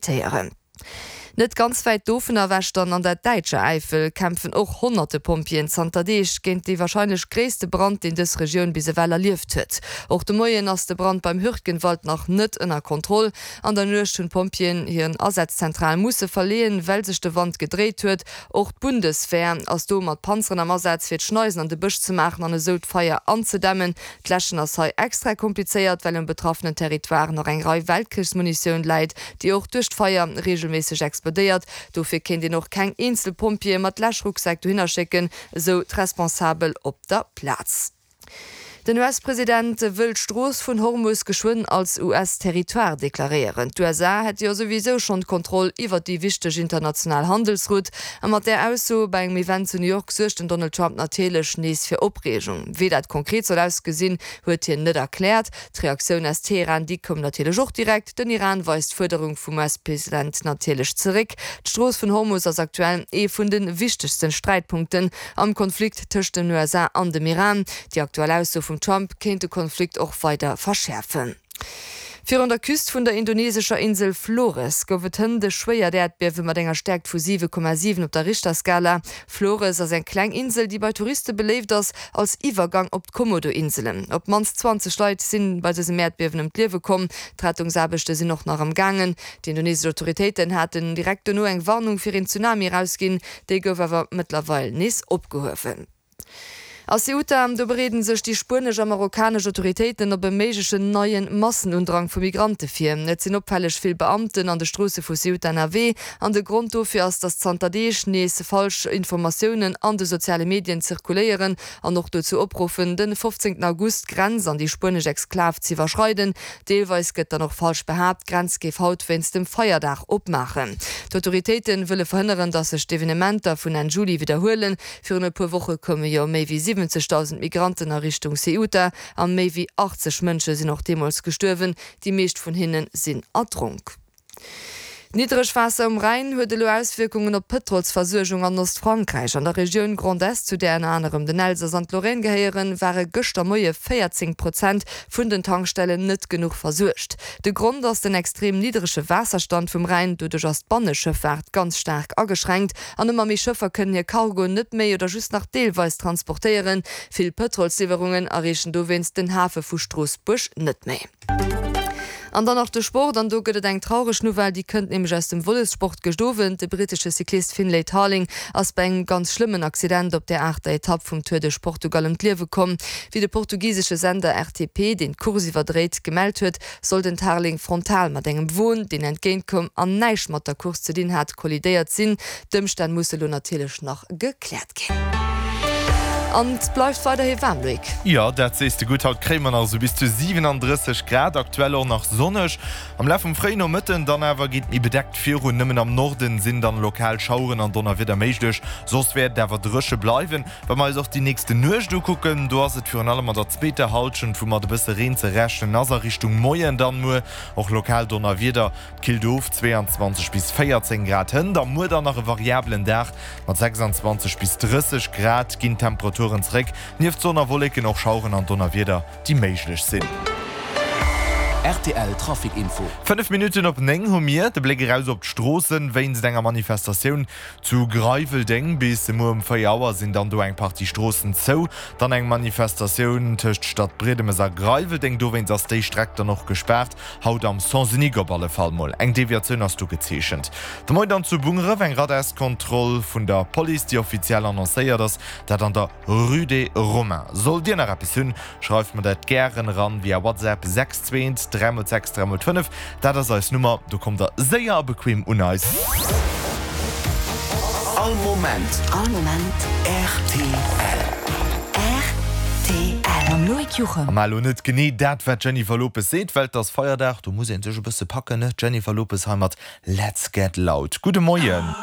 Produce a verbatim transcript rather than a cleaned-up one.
Téieren. Net ganz wäit dovun ewech dann an der däitscher Äifel kämpfen och honnerte Pompjeeën zanter Deeg géint dee warscheinlech gréisste Brand, deen dës Regioun bis ewell erlieft huet. Och de Moien ass de Brand beim Hürtgenwald nach net ënner Kontroll. An der Nuecht hunn d'Pompjeeën hir Asazzentral musse verleeën, well sech de Wand gedréit huet. Och d'Bundeswehr ass do mat Panzeren am Asaz, fir d'Schneisen an de Bësch ze maachen an esou d'Feier anzedämmen. D'Läschen ass hei extra komplizéiert, well um betraffenen Territoire nach eng Rei Weltkrichsmunitioun läit, déi och duerch d'Feier reegelméisseg explodéiert. Dofir kéint een och keng eenzel Pompjeeë mat Läschrucksäck dohinner schécken, esou d'Responsabel op der Plaz. Den US-President wëll d'Strooss vun Hormus geschwënn als US-Territoire deklaréieren. D'USA hätte jo souwisou schonn d'Kontroll iwwer déi wichteg international Handelsroute. A mat där Ausso bei engem Event zu New York suergt den Donald Trump natierlech nees fir Opreegung. Wéi dat konkret soll ausgesinn, huet hien net erkläert. D'Reaktioun aus Teheran, déi koum natierlech och direkt. Den Iran weist d'Fuerderung vum US-President natierlech zeréck. D'Strooss vun Hormus ass aktuell ee vun de wichtegste Sträitpunkten am Konflikt tëscht den USA an dem Iran. Déi aktuell Ausso vum Trump kéint de Konflikt och weider verschäerfen. Virun der Küst vun der indonesescher Insel Flores gouf et hënt e schwéiert Äerdbiewe mat enger Stäerkt vu siwe Komma siwen op der Richterskala. Flores ass eng kleng Insel, déi bei Touriste beléift ass als Iwwergang op d'Komodo-Inselen. Op d'mannst zwanzeg Leit si bei dësem Äerdbiewen ëm d'Liewe komm. D'Rettungsaarbechte sinn och nach am gaangen. Déi indonesesch Autoritéiten haten direkt dono eng Warnung fir een Tsunami erausginn. Déi gouf awer mëttlerweil nees opgehuewen. A Ceuta, do bereeden sech déi spuenesch a marokkanesch Autoritéiten op e méiglechen neie Massenundrang vu Migrante vir. Et sinn opfälleg vill Beamten an de Stroosse vu Ceuta ënnerwee an de Grond dofir ass, datt zanter Deeg nees falsch Informatiounen an de soziale Medien zirkuléieren an och dozou opruffen, de fofzéngten August d'Grenz an déi spuenesch Exklav z'iwwerschreiden. Deelweis gëtt dann och falsch behaapt, d'Grenz géif haut wéinst dem Feierdag opmaachen. D'Autoritéite wëlle verhënneren, datt sech d'Evenementer vun Enn Juli widderhuelen. Virun e puer Woche koume jo méi wéi siwwenzegdausend Migranten a Richtung Ceuta a méi wéi achtzeg Mënsche sinn och deemools gestuerwen. Déi meescht vun hinne sinn erdronk. D'Niddregwaasser um Rhäin huet elo Auswierkungen op d'Pëtrolsversuergung an Ostfrankräich. An der Regioun Grand Est, zu där ënner anerem den Elsass an d'Lorraine gehéieren, ware gëschter Moie véierzéng Prozent vun den Tankstellen net genuch versuergt. De Grond ass den extrem niddrege Waasserstand vum Rhäin. Doduerch ass d'Banneschëffaart ganz staark ageschränkt an ëmmer méi Schëffer kënnen hir Cargoen net méi oder just nach deelweis transportéieren. Vill Pëtrolsliwwerungen erreechen dowéinst den Hafe vu Stroossbuerg net méi. An dann nach de Sport, an do gëtt et eng traureg Nouvelle, déi kënnt nämlech aus dem Vëlossport gëscht Owend. De brittesche Cyclist Finlay Tarling ass bei engem ganz schlëmmen Accident op der aachter Etapp vum Tour de Portugal ëm d'Liewe komm. Wéi de portugisesche Sender R T P, deen d'Course iwwerdréit, gemellt huet, soll den Tarling frontal mat engem Won, deen entgéint koum an näischt mat der Course ze dinn hat, kollidéiert sinn. D'Ëmstänn musse lo natierlech nach gekläert ginn. An et bleift weiderhi waarm, Loïc. Jo, dat sees de gutt. Haut kréie mer nach esou bis zu siwenaandrësseg Grad, aktuell och nach sonneg. Am Laf vum fréien Nomëtten dann awer geet et méi bedeckt virun, nëmmen am Norden sinn dann lokal Schaueren an Donnerwieder méiglech, soss wäert et awer dréche bleiwen. Wa mer eis och déi nächste Nuecht ukucken, do ass et virun allem an der zweeter Hallschent, wou mat e bësse Reen ze rechnen ass, a Richtung Moien dann muer och lokal Donnerwieder. Et killt of, zweeanzwanzeg bis véierzéng Grad hënt a muer dann nach e variabelen Dag mat sechsanzwanzeg bis drësseg Grad ginn d'Temperaturen zeréck. Nieft Sonn a Wolleken och Schaueren an Donnerwieder, déi méiglech sinn. R T L Trafic Info. Fënnef Minutten op néng hu mir de Bléck eraus op d'Stroossen. Wéinst enger Manifestatioun zu Greiweldeng bis muer um véier Auer sinn dann do eng Partie Stroossen zou. Dann eng Manifestatioun tëscht Stadbriedemes a Greiweldeng, dowéinst ass déi Streck dann och gespaart. Haut am Sens unique op alle Fall mol. Eng Deviatioun ass do gezeechent. De Moien dann zu Bungeref eng Radarskontroll vun der Police, déi offiziell annoncéiert ass, dat an der Rue des Romains. Sollt Dir nach eppes hunn, schreift mer dat gären eran via WhatsApp, sechs zwee eent dräi mol sechs dräi mol fënnef, dat ass eis Nummer, do kommt der séier a bequem un eis. All Moment. All Moment. R T L. R T L. Mam Loïc Juchem. A mar elo net genee dat, wat d'Jennifer Lopez seet, well et ass Feierdag, do muss ee sech e bësse packen, ne? D'Jennifer Lopez hei mat Let's Get Loud. Gudde Moien.